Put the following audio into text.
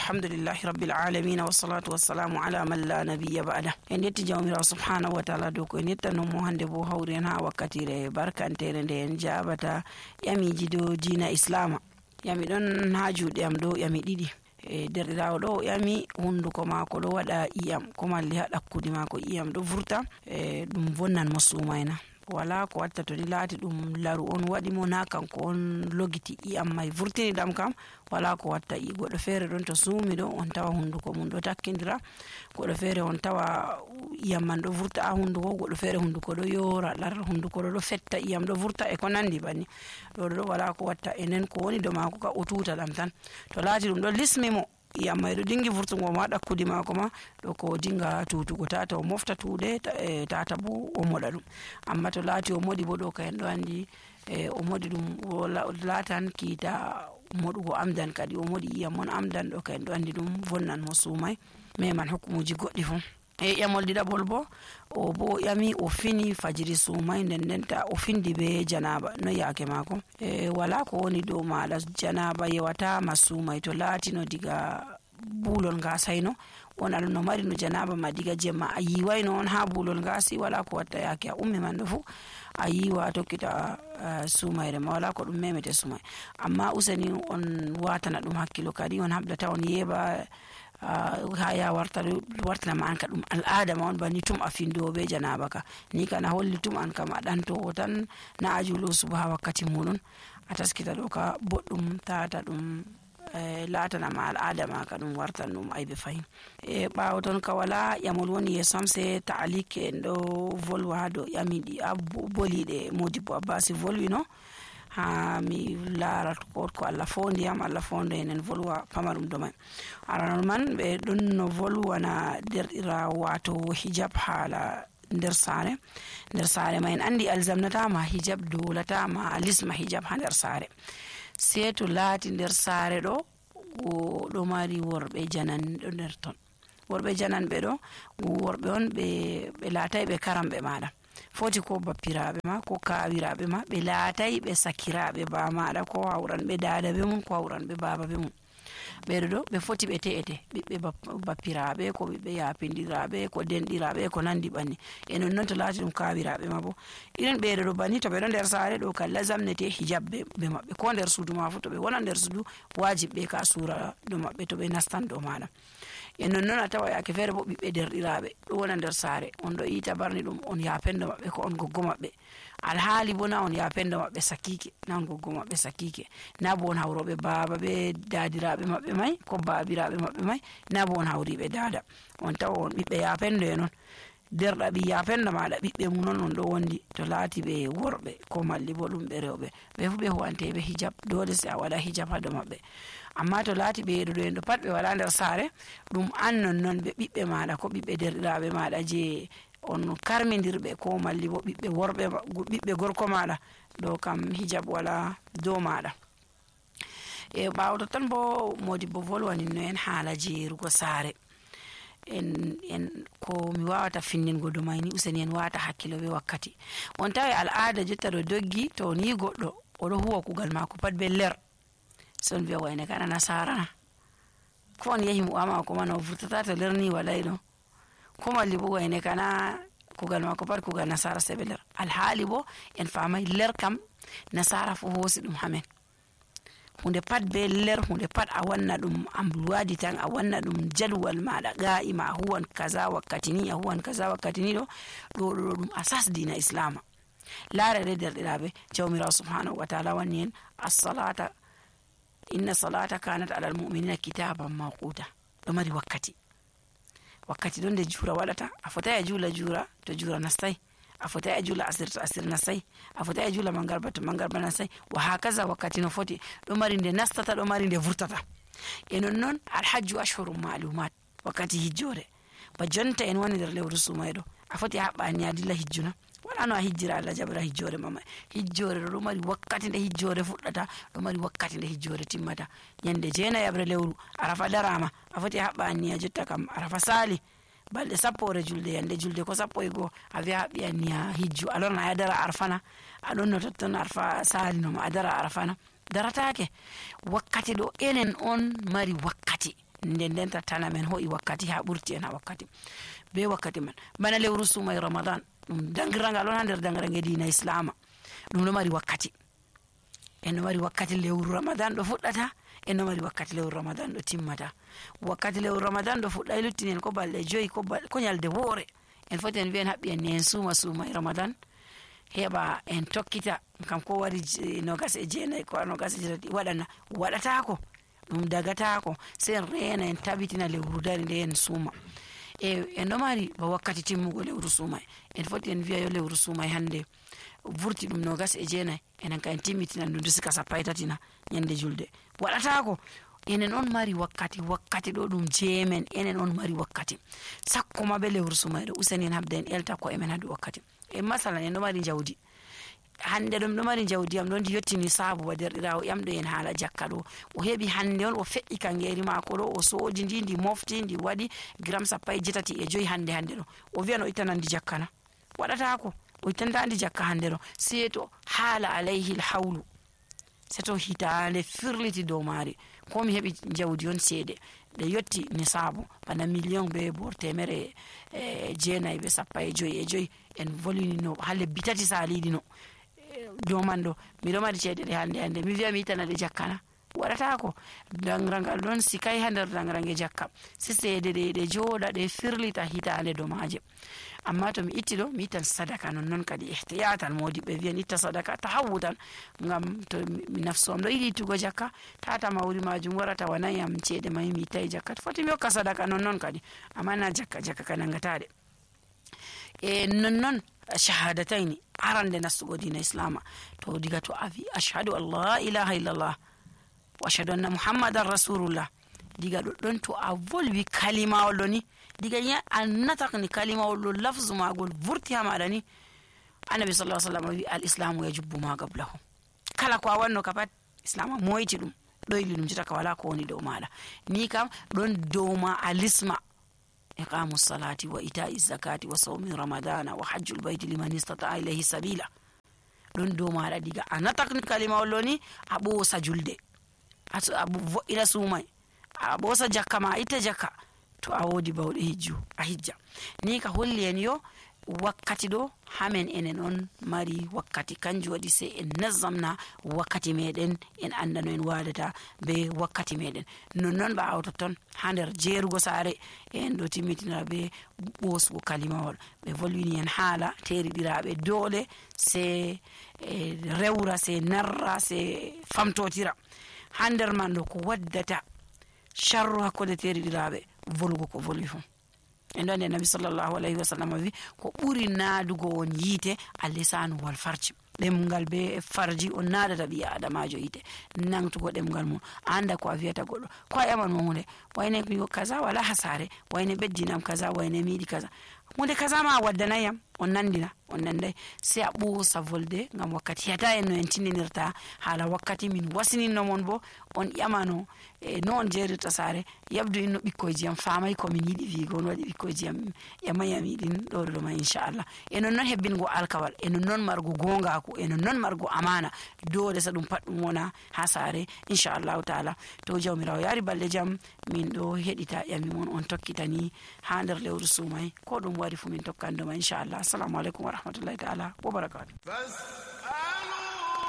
alhamdulillahi rabbil alamin wassalatu wassalamu ala man la nabiyya ba'da. En yetti jawmirawo subhanahu wa ta'ala dow ko en yettano mo hande bo hawri en ha wakkatire barkantere nde en jabata yamiji dow dina islama. Yami don ha juuɗe am ɗo yami ɗiɗi. Derɗirawo ɗo yami hunduko mako ɗo waɗa iyam ko malli ha ɗakkudi mako iyam ɗo vurta ɗum vonnan mo sumayna. Wala ko watta to ni laati ɗum laru on waɗi mo na kanko on logiti iyam mai vurtini ɗam kam wala ko watta. Goɗɗo feere ɗon to suumi ɗo on tawa hunduko mum ɗo takkindira, goɗɗo feere on tawa iyam man ɗo vurta ha hunduko, goɗɗo feere hunduko ɗo yora lar, hunduko ɗo fetta iyam ɗo vurta e ko nandi banni. ɗo wala ko watta. Enen ko woni do mako ka o tuta ɗam tan. To laati ɗum ɗo lismi mo iyam mai ɗo dingi vurtugo ma ɗakkudi mako ma ɗo ko dinga tutugo tata o mofta tuuɗe tata bo o moɗa ɗum. Amma to laati o moɗi bo ɗo ka en ɗo andi o moɗi ɗum laatan kiita moɗugo amdan kadi o moɗi iyam mon amdan ɗo ka en ɗo andi ɗum vonnan mo sumai meman hukkumuji goɗɗi fu. Ƴamol ɗiɗaɓol bo o bo yami o fini fajiri sumai ndendenta o findi be janaba no yaake mako. Wala ko woni dow maɗa janaba yewata ma sumai to laatino diga bulol ngasaino on aɗa no mari no janaba ma diga jemma a yiwaino on ha bulol ngasi wala ko watta yaake a ummi man ɗo fu a yiwa tokkita sumayre ma wala ko ɗum memete sumai. Amma useni on watana ɗum hakkilo kadi on habdata on yeba ha ya wartana ma an ka ɗum al'ada ma on banni tum a findo be janaba ka ni kana holli tum an kam a ɗanto tan na a julo suba ha wakkati muɗum a taskita ɗo ka boɗɗum tata ɗum laatana ma al'ada ma ka ɗum wartan ɗum aybe fahin. Ɓawo ton ka wala ƴamol woni yesom se ta'alike en ɗo volwa ha dow ƴamiɗi a boliɗe Modibo Abbasi volwino ha mi laara ko Allah fondiyam Allah fondo en volwa pamarum do mai. Aranon man ɓe ɗon no volwana derɗira wato hijab hala nder sare ma en andi alzamnatama hijab dolatama lisma hijab ha nder sare. Se to laati nder sare ɗo mari worɓe janan ɗo nder ton. Worɓe janan ɓe ɗo worɓe on ɓe laatai ɓe karamɓe maɗa foti ko bappiraɓe ma ko kawiraɓe ma ɓe laatai ɓe sakiraɓe ba maɗa ko hawran ɓe dada be mum ko hawran ɓe baba be mum. Ɓeɗo ɗo ɓe foti ɓe te'ete ɓiɓɓe bappiraɓe ko ɓiɓɓe yapindiraɓe ko denɗiraɓe ko nandi banni. E non to laati ɗum kawiraɓe ma bo irin ɓeɗo ɗo banni to ɓe ɗo nder sare ɗo kala zamnete hijab be maɓɓe ko nder suudu ma fu to ɓe wona nder suudu wajib ɓe ka sura do maɓɓe to ɓe nastan do maɗa. E non a tawa yake feere bo ɓiɓɓe derɗiraɓe ɗo wona nder sare on ɗo ita barni ɗum on yapendo maɓɓe ko on goggo maɓɓe alhaali bo na on yapendo maɓɓe sakike na on goggo maɓɓe sakike na bo on hawroɓe baba be dadiraɓe maɓɓe mai ko babiraɓe maɓɓe mai na bo on hawriɓe dada on tawa on ɓiɓɓe yapendo e non derɗaɓi yapendo maɗa ɓiɓɓe mum non on ɗo wondi to laati ɓe worɓe ko malli bo ɗum ɓe rewɓe ɓe fu ɓe huwanteɓe hijab dole se a waɗa hijab ha dow maɓɓe. Amma to laati ɓe ɗo en ɗo pat ɓe wala nder sare ɗum an non ɓe ɓiɓɓe maɗa ko ɓiɓɓe derɗiraɓe maɗa je on karmidirɓe ko malli bo ɓiɓɓe worɓe ɓiɓɓe gorko maɗa ɗo kam hijab wala dow maɗa. Ɓawo tan bo Modibo volwani no en haala jeerugo sare en ko mi wawata finningo do mai ni useni en wata hakkilo be wakkati. On tawi al'ada jotta ɗo doggi to ni goɗɗo oɗo huwa kugal mako pat be ler son biya wayne kana nasarana ko on yahi mu'amala ko man o vurtata to lerni walai ɗo ko malli bo wayne kana kugal mako pat kugal nasara se be ler. Alhaali bo en famai ler kam nasara fu hosi ɗum hamen hunde pat be ler hunde pat a wanna ɗum amluwadi tan a wanna ɗum jadwal maɗa ga'ima a huwan kaza wakkati ni a huwan kaza wakkati ni ɗo ɗum asas dina islama. Laarere derɗiraɓe jawmirawo subhanahu wa ta'ala wanni en as-salata inna salata kanat ala al-mu'minina kitaban mawquta ɗo mari wakkati ɗon nde jura waɗata a fotai a jula to jura nastai a fotai a jula asir to asir nastai a fotai a jula mangarba to mangarba nastai wa hakaza wakkati no foti ɗo mari nde nastata ɗo mari nde vurtata. E non alhajju ashhurum ma'lumat wakkati hijjore ba jonta en woni nder lewru sumayɗo a foti a haɓɓa ni a dilla hijjuna wala no a hijjira Allah jabra hijjore mama hijjore ɗo mari wakkati nde hijjore fuɗɗata ɗo mari wakkati nde hijjore timmata. Yande jeenayabre lewru arafa darama a foti a haɓɓa ni a jotta kam arafa sali balɗe 10 julde yande julde ko 11 a wi'a haɓɓi ni a hijju a lorna a dara arfana a ɗon no totton arfa salino ma a dara arfana daratake wakkati ɗo enen on mari wakkati nden tattana men ho'i wakkati ha ɓurti en ha wakkati be wakkati man bana lewru sumay ramadan ɗum dangirangal on ha nder dangirange dina islama ɗum ɗo mari wakkati en ɗo mari wakkati lewru ramadan ɗo fuɗɗata en ɗo mari wakkati lewru ramadan ɗo timmata wakkati lewru ramadan ɗo fuɗɗa luttinen ko balɗe 5 ko nyalde woore en foti en wi'en haɓɓi en ni en sumay ramadan heɓa en tokkita kam ko wari 29 ko 29 waɗatako ɗum dagatako sai en rena en tabitina lewru dari nde en suma en ɗo mari ba wakkati timmugo lewru sumay en foti en wi'a yo lewru sumay hande vurti ɗum 29 enen ka en timmitina ɗum sika 13 nyande julde waɗatako enen on mari wakkati ɗo ɗum jeemen enen on mari wakkati sakko ma be lewru sumay ɗo useni en habda en elta ko emen hadu wakkati masalan en ɗo mari jawdi hande ɗum ɗo mari jawdi am ɗon di yettini saabu wa derɗirawo ƴamɗo en haala jakka ɗo o heɓi hande on o feƴƴi kangeri mako ɗo o soodi ndi mofti ndi waɗi gram 8.5 hande ɗo o wiyan o ittanandi jakkana waɗatako o ittantandi jakka hande ɗo sai to haala alayhi lhawlu sai to hitande firliti dow maari ko mi heɓi jawdi on seede ɗe yetti ni saabu bana million be bor 9 be 15 en volini no ha lebbi 3 saliɗi no dow man ɗo miɗo mari ceede ɗe hande mi wiya mi yitanade jakkana waɗatako dangirangal ɗon sikay ha nder dangirange jakka si seede ɗe jooɗa ɗe firlita hitande dow maaje amma to mi itti ɗo mi ittan sadaka non kadi ihtiyatan modiɓɓe wiyan itta sadaka tahawutan ngam to nafsu am ɗo yiɗi ittugo jakka tata mawri majum warata wanayam ceede mai mi ittayi jakka foti mi hokka sadaka non kadi amma na jakka ka nangataɗe non shahadatayni arande nastugo dina islama to diga to avi ashhadu an la ilaha illallah wa ashhadu anna muhammadan rasulullah diga ɗon to a volwi kalimawol ɗo ni diga ya annatakni kalimawol ɗo lafzu magol vurti ha maɗa ni annabi sallallahu alaihi wasallam wi al islamu yajubbu ma qablahu kala ko a wanno ka pat islama moyti ɗum ɗoyli ɗum jita ka wala ko woni dow maɗa ni kam ɗon dow ma alisma iqamu salati wa ita'i zakati wa sawmi ramadana wa hajjul bayti liman istata'a ilayhi sabila ɗon dow maɗa diga a natakni kalimawol ɗo ni a ɓoosa julde a vo'ina sumay a ɓoosa jakka ma a itta jakka to a woodi bawɗe a hijja ni ka holli en yo wakkati ɗo hamen enen on mari wakkati kanjum waɗi sai en nazzamna wakkati meɗen en andano en wadata be wakkati meɗen nonnon ba awtoton ha nder jeerugo saare en ɗo timmitinira be ɓosugo kalimawol ɓe volwini en haala teriɗiraɓe dole sai rewra sai narra sai famtotira ha nder man ɗo ko waddata sharru hakkude teriɗiraɓe volugo ko volwi fu en ɗon nde nabi sallllahu alayhi wa sallam wi ko ɓuri naadugo on yiite allisanu wal farji ɗemgal be farji on naadata ɓi adamajo yiite nangtugo ɗemgal mum anda ko a wiyata goɗɗo ko a ƴaman mo hunde wayne kaza wala hasare wayne beddinam kaza wayne miiɗi kaza hunde kaza ma waddanayam on nandina on nanday sai a ɓoosa volde ngam wakkati hiyata en no en tindinirta haala wakkati min wasininno mon bo on ƴamano no on jeerirta saare yabdu inno ɓikkoyji am famay komin yiɗi wiigo on waɗi ɓikkoyji am ƴamayam yiɗin ɗoɗo ma inchallah e non noon hebbingo alkawal e non noon margo gongaku e non noon margo amana dole sa ɗum pat ɗum wona ha saare inchallahu taala to jawmirawo yaari balɗe jam min ɗo heɗita ƴami mon on tokkitani ha nder lewru sumay ko ɗum wari fu min tokkandoma inchallah assalamu aleykum wa rahmatullahi taala wa barakatuh.